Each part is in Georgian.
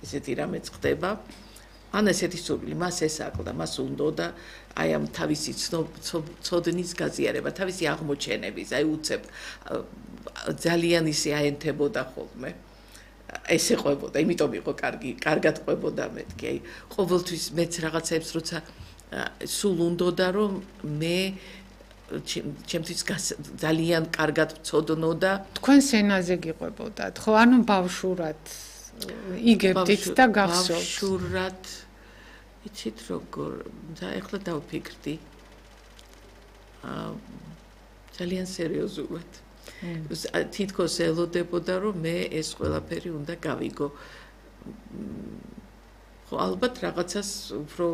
ესეთი რამე ხდება. ან ესეთი სურვილი მას ესაკლდა, მას უნდოდა აი ამ თავისი ცოდნის გაზიარება, თავისი აღმოჩენების, აი უცებ ძალიან ისე აენთებოდა ხოლმე. ეს ეყვებოდა, იმიტომ იყო კარგად ყვებოდა მეთქი, აი ყოველთვის მეც რაღაცებს როცა სულ უნდოდა რომ მე ჩემთვის ძალიან კარგად ვწოდნო და თქვენ სენაზე გიყვებოდათ, ხო? ანუ ბავშვურად იგებდით და გახსოვთ. ბავშვურად იცით როგორ და ეხლა დავფიქრდი. ძალიან სერიოზულად. თითქოს ელოდებოდა რომ მე ეს ყველაფერი უნდა გავიგო. ხო ალბათ რაღაცას უფრო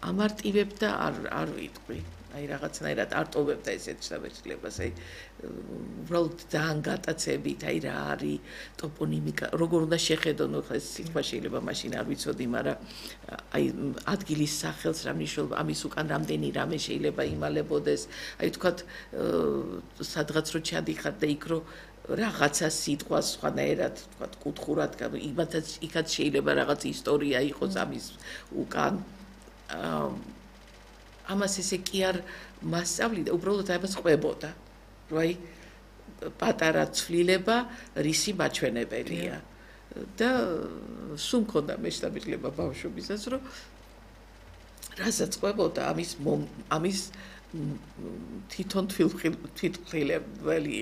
ამარტივებ და არ ვიტყვი. აი რაღაცნაირად არ ტოვებდა ესეთ შთაბეჭდილებას, აი უბრალოდ ძალიან გატაცებით, აი რა არის ტოპონიმიკა, როგორ უნდა შეხედონ, ხა ეს სიტყვა შეიძლება მაშინ არ ვიცოდი, მაგრამ აი ადგილის სახელს რა მნიშვნელობა, ამის უკან რამდენი რამე შეიძლება იმალებოდეს, აი თქვათ სადღაც რო ჩადიხარ და იქ რო რაღაცა სიტყვა სხვანაირად, თქვათ კუთხურად, იქაც შეიძლება რაღაც ისტორია იყოს ამის უკან. ამას ესე კი არ მასწავლიდა, უბრალოდ ამას ყვებოდა, რომ აი პატარა ცვლილება რისი მაჩვენებელია. და სულ მქონდა მეშთაბეჭდილება ბავშვობისას, რომ რასაც ყვებოდა, ამის თვითონ თვითმფრინაველი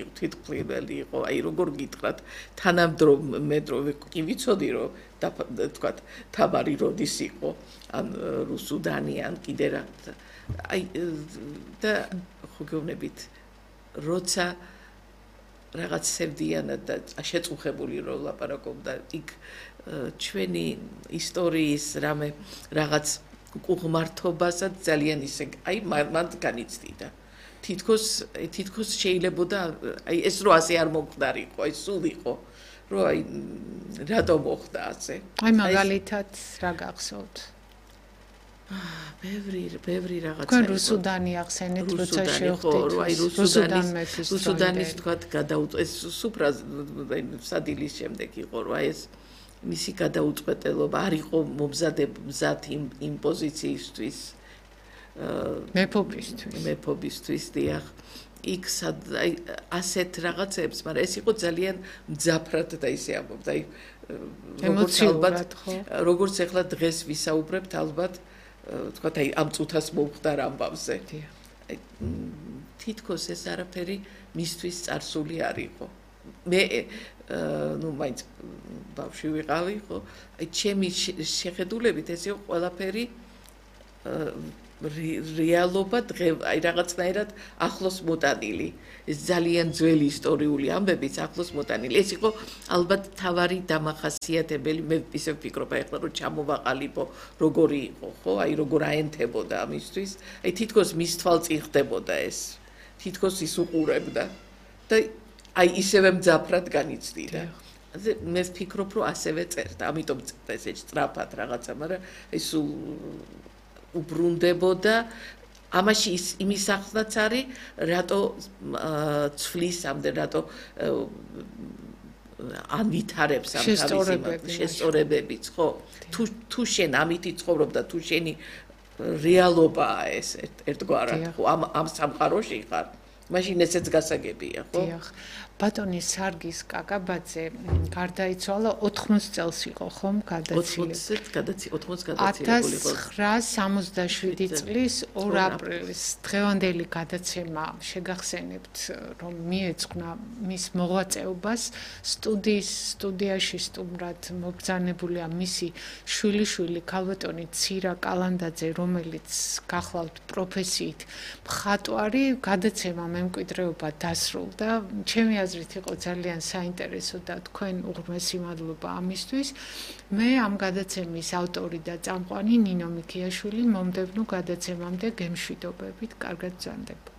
იყო, აი როგორ გითხრათ, თანამედროვე კი ვიცოდი, რომ თქვათ თამარი როდის იყო, ან რუსუდანი, ან კიდე რა. აი და ხო გეუბნებით როცა რაღაც სევდიანად და შეწუხებული რო ლაპარაკობდა იქ ჩვენი ისტორიის რამე რაღაც უღმართობასაც ძალიან ისე აი მან განიცდიდა თითქოს შეიძლებოდა აი ეს რო ასე არ მომხდარიყო აი სულ იყო რო აი რატომ მოხდა ასე აი მაგალითად რა გახსოვთ ბევრი რაღაცა თქვენ რუსუდანი ახსენეთ როცა შევხვდით აი რუსუდანის თქვათ გადაუწყვეტ ეს სუფრა სადილის შემდეგ იყო რა ეს მისი გადაუწყვეტელობა არ იყო მომზად იმ პოზიციისთვის მეფობისთვის დიახ იქ აი ასეთ რაღაცებს მაგრამ ეს იყო ძალიან მძაფრად და ისე ამბობდა აი როგორც ახლა დღეს ვისაუბრებთ ალბათ თქვათ აი ამ წუთას მომხდარ ამბავზე. აი თითქოს ეს არაფერი მისთვის წარსული არ იყო. მე ნუ მაინც ბავშვი ვიყავი, ხო? აი ჩემი შეხედულებით ეს იყო ყველაფერი რეალობა აი რაღაცნაირად ახლოს მოტანილი. ეს ძალიან ძველი ისტორიული ამბებიც ახლოს მოტანილი. ეს იყო ალბათ თავარი დამახასიათებელი, მე ისე ვფიქრობ ახლა რომ ჩამოვაყალიბო როგორი იყო, ხო? აი როგორ აენთებოდა ამისთვის. აი თითქოს მის თვალწინ ხდებოდა ეს. თითქოს ის უყურებდა და აი ისევე მძაფრად განიცდიდა. მე ვფიქრობ რომ ასევე წერდა, ამიტომ წერდა ესე სწრაფად რაღაცა, მაგრამ აი სულ უბრუნდებოდა ამაში იმის ახსნაც არის რატო ცვლის ამდე რატო ავითარებს ამ თავის შესწორებებიც ხო თუ შენ ამით იცხოვრობ და თუ შენი რეალობაა ეს ერთგვარად ხო ამ სამყაროში ხარ მაშინ ესეც გასაგებია ხო დიახ ბატონი სარგის კაკაბაძე გარდაიცვალა 80 წელს იყო ხომ გადაცილებული 80 გადაცილებული იყო 1967 წლის 2 აპრილის დღევანდელი გადაცემა შეგახსენებთ რომ მიეძღვნა მის მოღვაწეობას სტუდიაში სტუმრად მობრძანებულია მისი შვილიშვილი ქალბატონი ცირა კალანდაძე რომელიც გახლავთ პროფესიით მხატვარი გადაცემა მემკვიდრეობა დასრულდა ჩემი აზრით იყო ძალიან საინტერესო და თქვენ უღრმესი მადლობა ამისთვის. მე ამ გადაცემის ავტორი და წამყვანი ნინო მიქიაშვილი მომდევნო გადაცემამდე გემშვიდობებით, კარგად ბრძანდება.